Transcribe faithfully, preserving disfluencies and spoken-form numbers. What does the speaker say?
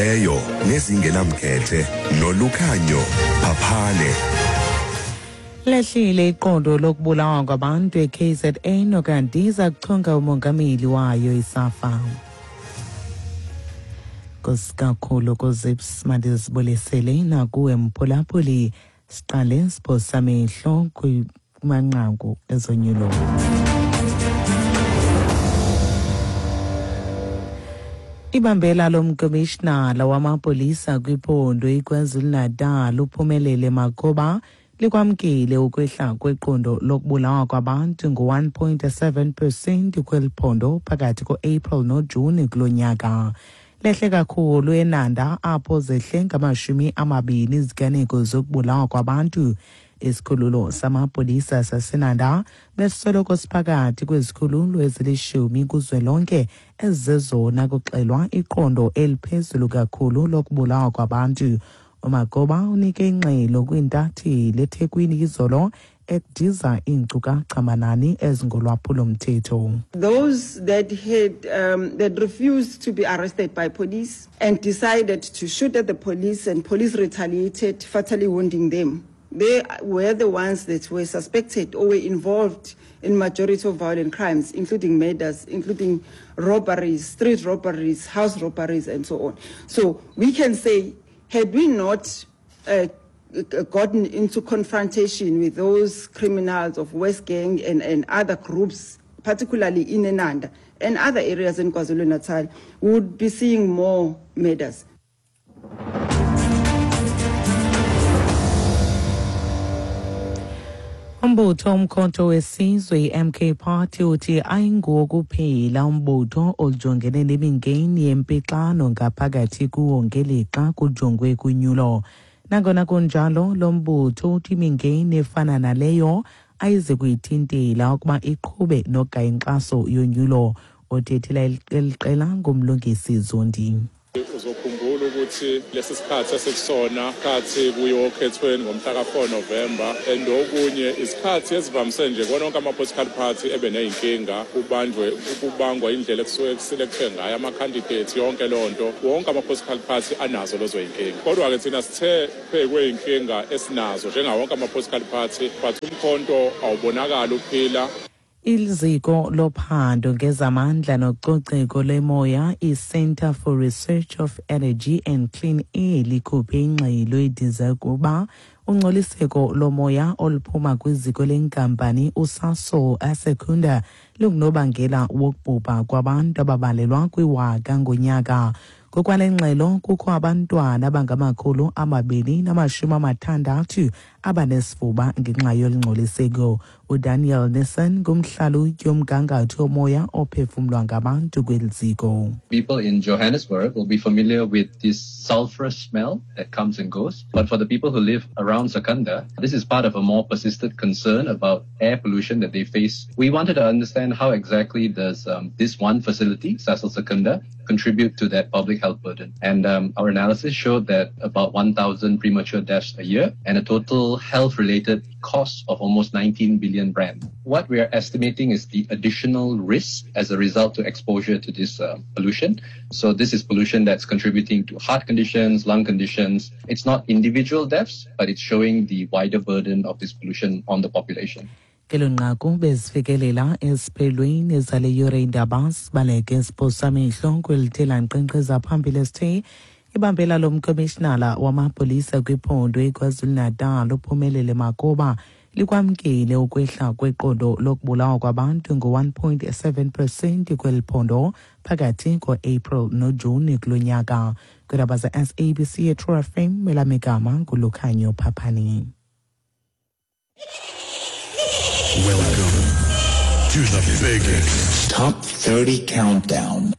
Ezinyanisekileyo nezingenamkhethe noLukhanyo Phaphane. Lehlile iqondo lokubulawa kwabantu e-K Z N okanti iza kuchonga umongameli wayo iSAFA. Kusikakhulu kuzips mandizibulisele nakuwe mphulaphuli, siqale siphosa amehlo kumanqaku ezonyulo. Ibambela lomkomishinala wamapolisa kwiphondo iKwaZulu-Natal uPhumelele Magoba likwamkele ukwehla kweqondo lokubulawa kwabantu ngo-one point seven percent kweli phondo phakathi ko-April noJuni kulo nyaka. Lehle kakhulu eNanda, apho zehle ngamashumi amabini iziganeko zokubulawa kwabantu. Isikhululo samapolisa saseNanda besisoloko siphakathi kwezikhululo ezilishumi kuzwelonke ezizezona kuxelwa iqondo eliphezulu kakhulu lokubulawa kwabantu. UMagoba unike ingxelo kwiintatheli eThekwini izolo, ediza iinkcukacha manani ezingolwaphulo-mthetho. Those that had um, that refused to be arrested by police and decided to shoot at the police, and police retaliated, fatally wounding them. They were the ones that were suspected or were involved in majority of violent crimes, including murders, including robberies, street robberies, house robberies, and so on. So we can say, had we not uh, gotten into confrontation with those criminals of West Gang and, and other groups, particularly in Inanda and other areas in KwaZulu-Natal, we would be seeing more murders. Umbutho Umkhonto weSizwe i-M K Party uthi ayinguwo kuphela umbutho ojongene nemingeni yempixano ngaphakathi kuwo ngelixa kujongwe kunyulo. Nangona kunjalo, lo mbutho uthi imingeni efana naleyo ayize kuyithintela ukuba iqhube nogaya inkxaso yonyulo. Othethela eli qela nguMlungisi Zondi. Uzokhumbula ukuthi lesi sikhathi esikusona khathi kuyiwa okhethweni ngomhla ka-four November, and okunye isikhathi esivamise nje kona wonke ama-political party ebe ney'nkinga, kubanjwe kubangwa indlela ekusuke kuselekthwe ngayo ama-candidates, yonke leyo nto. Wonke ama-political party anazo lezo y'nkinga, kodwa-ke thina sithe phezu kwey'nkinga esinazo njengawonke ama-political party, but uMkhonto awubonakali uphila. Iziko lophando ngezamandla nococeko lwemoya i-Centre for Research of Energy and Clean Air likhuphe ingxelo ediza ukuba ungcoliseko lomoya oluphuma kwiziko lenkampani uSasol eSecunda lungunobangela wokubhubha kwabantu ababalelwa kwiwaka ngonyaka. Ngokwale ngxelo, kukho abantwana abangamakhulu amabini namashumi amathandathu abanesifuba ngenxa yolungcoliseko. UDaniel Nissen ngumhlalutyi womgangatho womoya ophefumlwa ngabantu kweli ziko. People in Johannesburg will be familiar with this sulfurous smell that comes and goes. But for the people who live around Secunda, this is part of a more persistent concern about air pollution that they face. We wanted to understand how exactly does um, this one facility, Sasol Secunda, contribute to that public health burden. And um, our analysis showed that about one thousand premature deaths a year and a total health-related cost of almost nineteen billion rand. What we are estimating is the additional risk as a result to exposure to this uh, pollution. So this is pollution that's contributing to heart conditions, lung conditions. It's not individual deaths, but it's showing the wider burden of this pollution on the population. Kelo nqaku bezifikelela esiphelweni zale yure indaba. Sibaleke siphosa amehlo kwelithe lankqenkqeza phambili esithe ibambela lomkomishinala wamapolisa kwiphondo iKwaZulu-Natal uPhumelele Magoba likwamkele ukwehla kweqondo lokubulawa kwabantu ngo-one point seven percent kweli phondo phakathi ko-April noJuni kulo nyaka. Kwiindaba ze-S A B C eTrue F M, elamigama nguLukhanyo Phaphani. Welcome to the biggest Top thirty Countdown.